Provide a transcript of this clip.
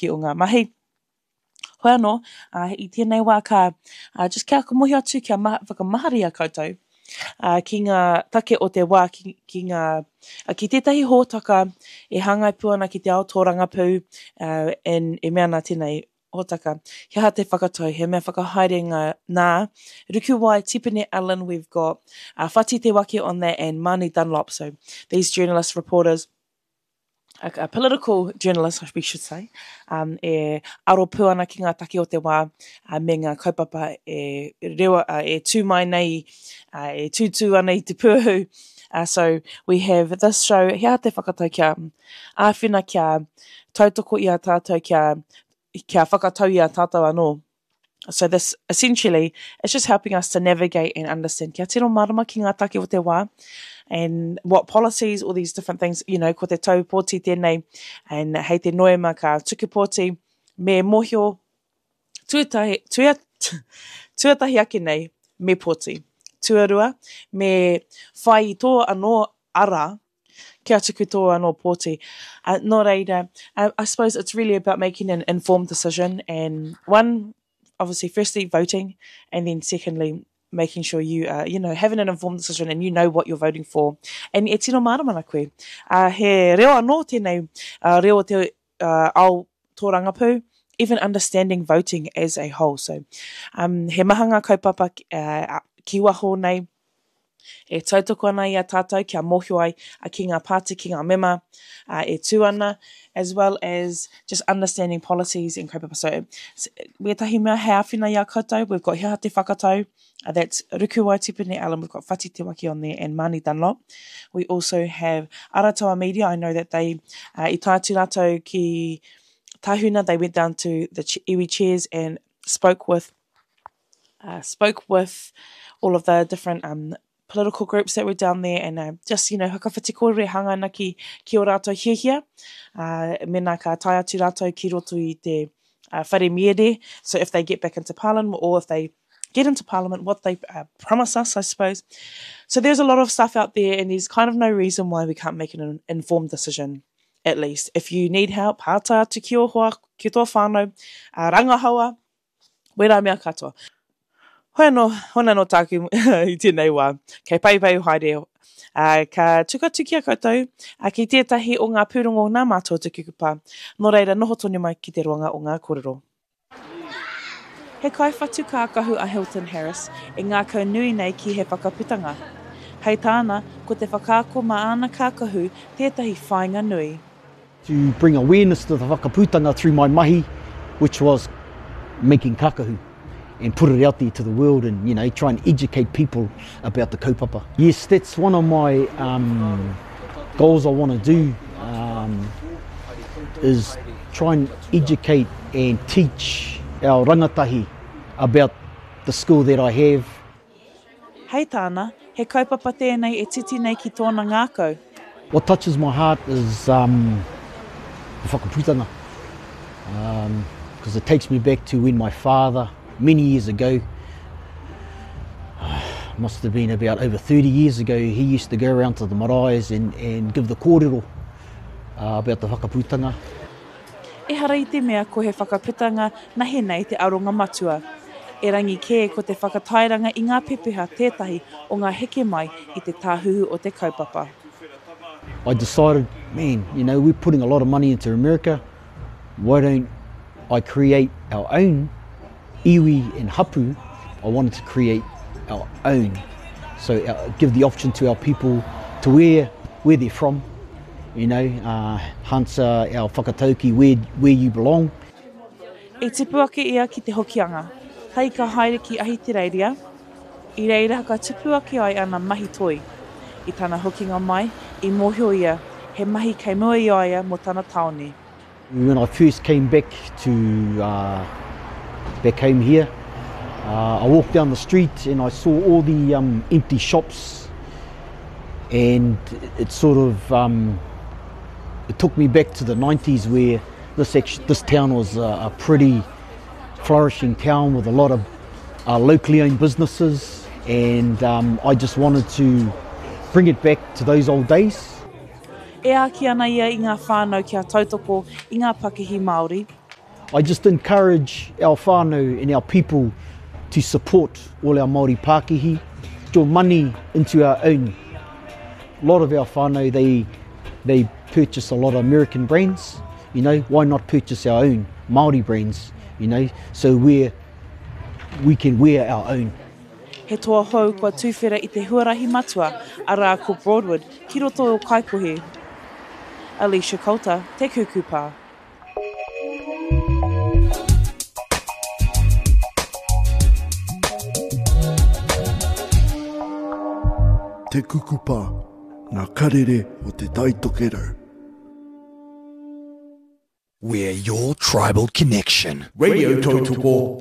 o ngā mahi. Hoi anō, ā, i tēnei wā ka, ā, just kia mōhio atu, kia maha, whakamahara i a koutou, ā, ki ngā take o te wā, ki, ki ngā, ā, ki tētahi hōtaka e hāngai pū ana ki te ao tōrangapū, ā, and e mea ana tēnei hōtaka, he aha te whakatau, he mea whakahaere ngā, nā, Rukuwai, Tipene Allen, we've got, uh, Whati Te Wake on that and Marnie Dunlop, so these journalists, reporters, a, a political journalist, we should say, um, e aro pū ana ki ngā take o te wā uh, me ngā kaupapa e, rewa, uh, e tū mai nei, uh, e tūtū ana i te pūhu. Uh, so we have this show, he aha te whakatau kia āwhina, kia tautoko i a tātou, kia, kia whakatau i a tātou anō. So this essentially it's just helping us to navigate and understand kia tino mārama ki ngā take o te wā and what policies, all these different things, you know, ko te tau pōti tēnei and hei te Noema ka tuku pōti, me mōhio tuatahi, tua, tuatahi ake nei me pōti. Tuarua, me whai i tō anō ara Kia tuku tō anō pōti. Uh, nō reira, uh, I suppose it's really about making an informed decision and one, obviously, firstly, voting, and then secondly, making sure you are, you know, having an informed decision and you know what you're voting for. And e tino mārama ana koe. Uh, he reo anō tēnei, uh, reo o te uh, ao tōrangapū, even understanding voting as a whole. So, um, he maha ngā kaupapa uh, ki waho nei, e tautoko ana i a tātou kia mōhio ai ki ngā pāti, ki ngā mema e tū ana, as well as just understanding policies and kaupapa. So, wētahi mea hei āwhina i a koutou, we've got He Aha Te Whakatau, that's Rukuwai Tipene Allen, we've got Whati Te Wake on there and Marnie Dunlop. We also have Arataua Media, I know that they, uh, i tae atu rātou ki Tahuna, they went down to the iwi chairs and spoke with uh, spoke with all of the different um, political groups that were down there and uh, just, you know, whakawhiti kōrero e hanga ana ki, ki o rātou hiahia. Uh, mena ka tae atu rātou ki roto i te uh, whare miere, so if they get back into parliament or if they get into parliament, what they uh, promise us, I suppose. So there's a lot of stuff out there and there's kind of no reason why we can't make an informed decision, at least. If you need help, hātai atu ki o hoa, ki tō whānau, uh, rangahaua, Wērā mea katoa. Hoi anō, hoi anō tāku i tēnei wā. Kei paipai haere. Ā, ka tuku atu ki a koutou, ā, ki tētahi o ngā pūrongo nā mātou te kukupa. Nō reira, noho tonu mai ki te roanga o ngā kōrero. He kaiwhatu kākahu a Hilton Harris e ngākau nui nei ki he whakaputanga. Hei tāna, ko te whakaako mā āna kākahu tētahi whāinga nui. To bring awareness to the whakaputanga through my mahi, which was making kakahu and put it out there to the world and you know try and educate people about the kaupapa. Yes, that's one of my um, goals I want to do um, is try and educate and teach our rangatahi about the skill that I have. Hei tāna, he kaupapa tēnei e titi nei ki tōna ngākau. What touches my heart is um, the whakaputanga. Um, because it takes me back to when my father, many years ago, must have been about over 30 years ago, he used to go around to the maraes and, and give the kōrero uh, about the whakaputanga. Ehara i te mea ko he whakaputanga nahe nei te aronga matua. Erangi kē ko te whakatairanga i ngā pepeha tētahi o ngā heke mai i te tāhuhu o te kaupapa. I decided, man, you know, we're putting a lot of money into America, why don't I create our own iwi and hapu, I wanted to create our own. So uh, give the option to our people to where, where they're from, you know, uh, Hansa, our whakatauki, where, where you belong. I tipu ake ia ki te Hokianga, tae ka haere ki Ahitereiria, i reira ka tupu ake ai ana mahi toi. I tana hokinga mai, i mōhio ia, he mahi kei mua i a ia mō tana tāone. When I first came back to uh, back home here, uh, I walked down the street and I saw all the um, empty shops, and it sort of um, it took me back to the 90s where this actually, this town was a, a pretty flourishing town with a lot of uh, locally owned businesses, and um, I just wanted to bring it back to those old days. E āki ana ia i ngā whānau kia tautoko i ngā pakihi Māori. I just encourage our whānau and our people to support all our Māori pākihi, your money into our own. A lot of our whānau, they, they purchase a lot of American brands, you know, why not purchase our own Māori brands, you know, so we're, we can wear our own. He toa hou kua tuwhera i te huarahi matua, arā ko Broadwood, ki roto o Kaikohe. Alicia Coulter, Te Kuku Pā. Te Kukupa, ngā karere o Te Tai Tokerau. We're your tribal connection. Radio Tautoko.